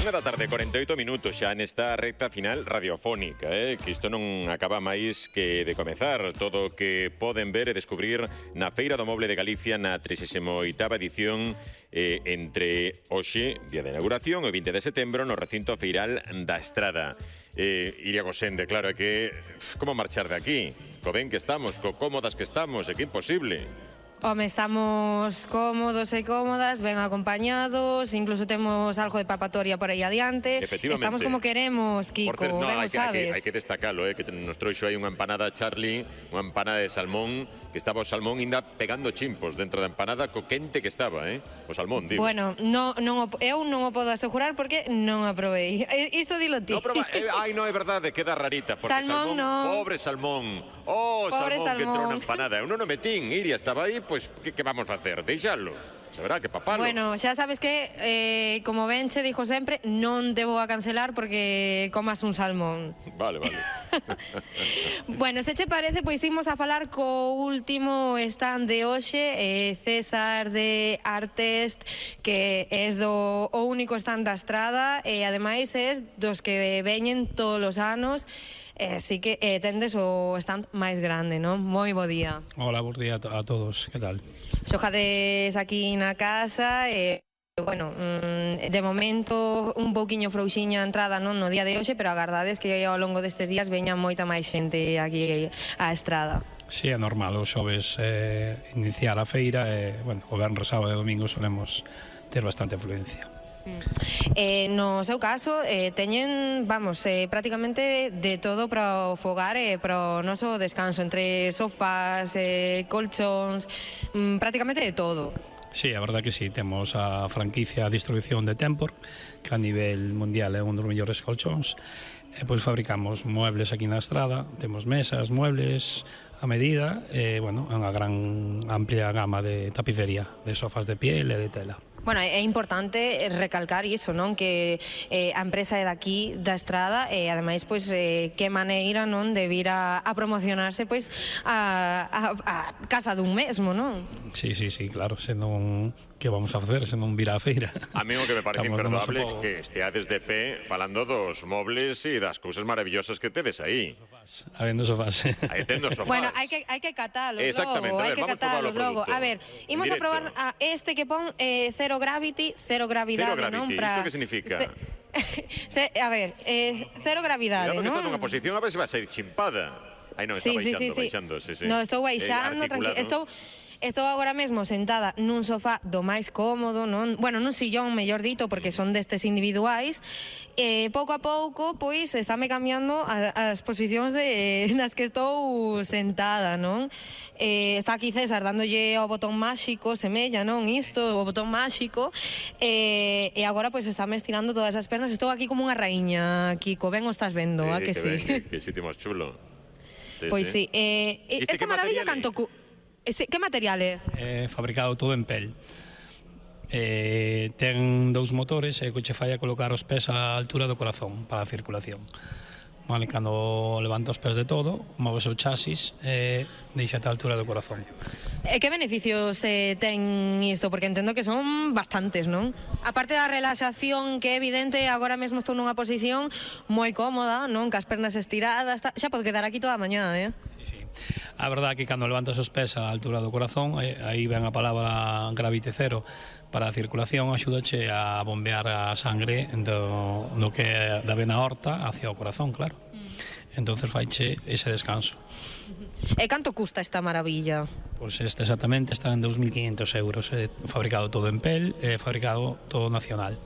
1:48, xa nesta recta final radiofónica, que isto non acaba máis que de comezar. Todo o que poden ver e descubrir na Feira do Moble de Galicia na 38ª edición entre hoxe, día de inauguración, e o 20 de setembro no recinto feiral da Estrada. Iria Gosende, claro, é que como marchar de aquí? Co ben que estamos, co cómodas que estamos, é que imposible. Home, estamos cómodos e cómodas, ben acompañados, incluso temos algo de papatoria por aí adiante. Efectivamente. Estamos como queremos, Kiko, Por certo, ben o sabes. hai que destacalo, que nos trouxo aí unha empanada Charlie, unha empanada de salmón, que estaba o salmón ainda pegando chimpos dentro da empanada, co quente que estaba, o salmón, digo. Bueno, eu non o podo asegurar porque non a probei. Iso dilo ti. No, pero, non é verdade, queda rarita, porque Salmón, no. Pobre salmón. Oh, Pobre salmón que entrou salmón. na empanada. Eu non o metín, Iria estaba aí, pois, que vamos a facer? Deixalo. Se verá que papalo. Bueno, xa sabes que, como ben che dixo sempre, non te vou a cancelar porque comas un salmón. Vale. Bueno, se che parece, pois imos a falar co último stand de hoxe, César de Artest, que é o único stand da Estrada e ademais é dos que veñen todos os anos. Así que tendes o stand máis grande, non? Moi bo día. Hola, bo día a todos, que tal? Xojades aquí na casa e, bueno, de momento un pouquiño frouxiña a entrada non no día de hoxe, pero a verdade é que ao longo destes días veña moita máis xente aquí á Estrada. Sí, é normal, os xoves iniciar a feira e, bueno, o venres, sábado e domingo solemos ter bastante afluencia. No seu caso, teñen, prácticamente de todo para o fogar e para o noso descanso, entre sofás, colchóns, prácticamente de todo. Sí, a verdade que sí, temos a franquicia a distribución de Tempor, que a nivel mundial é un dos mellores colchóns, e pois fabricamos muebles aquí na Estrada, temos mesas, muebles a medida, e, bueno, é unha gran amplia gama de tapicería, de sofás de piel e de tela. Bueno, é importante recalcar iso, non? Que a empresa é daqui da Estrada e ademais, pois, que maneira, non, de vir a promocionarse, pois, a casa dun mesmo, non? Sí, claro, senón que vamos a facer, senón vir á feira. A mí o que me parece imperdonable é que esteades de pé falando dos mobles e das cousas maravillosas que tedes aí. Habendo sofás. Aí tendo sofás. Bueno, hai que catalos logo, hai que catalos logo. A ver, imos a probar a este que pon Zero Gravity, cero gravidade, non? Isto que significa? A ver, cero gravidade, non? Cuidado que está nunha posición, a ver se vai sair chimpada. Aí non, está baixando. No, estou baixando, tranquilo. Estou agora mesmo sentada nun sofá do máis cómodo, non? Bueno, nun sillón, mellor dito, porque son destes individuais. Pouco a pouco, pois, estáme cambiando as posicións nas que estou sentada, non? Está aquí César dándolle ao botón máxico, semella, non? Isto, o botón máxico. E agora, pois, estáme estirando todas as pernas. Estou aquí como unha raíña, Kiko. Ben o estás vendo, a que sí? Que sitio máis chulo. Pois sí. Esta maravilla canto... Que material é? Fabricado todo en pel. Ten dous motores e o que che fai a colocar os pés á altura do corazón para a circulación. Vale, cando levanta os pés de todo, moves o chasis e deixate a altura do corazón. E que beneficios ten isto? Porque entendo que son bastantes, non? A parte da relaxación, que é evidente, agora mesmo estou nunha posición moi cómoda, non? Cas pernas estiradas, xa podo quedar aquí toda a mañá, Sí. A verdade é que cando levantas os pés á altura do corazón, aí ven a palabra Gravity Zero, para a circulación axúdache a bombear a sangre do que é da vena aorta hacia o corazón, claro. Entonces faiche ese descanso. E canto custa esta maravilla? Pois este exactamente está en 2.500 euros, fabricado todo en pel, fabricado todo nacional.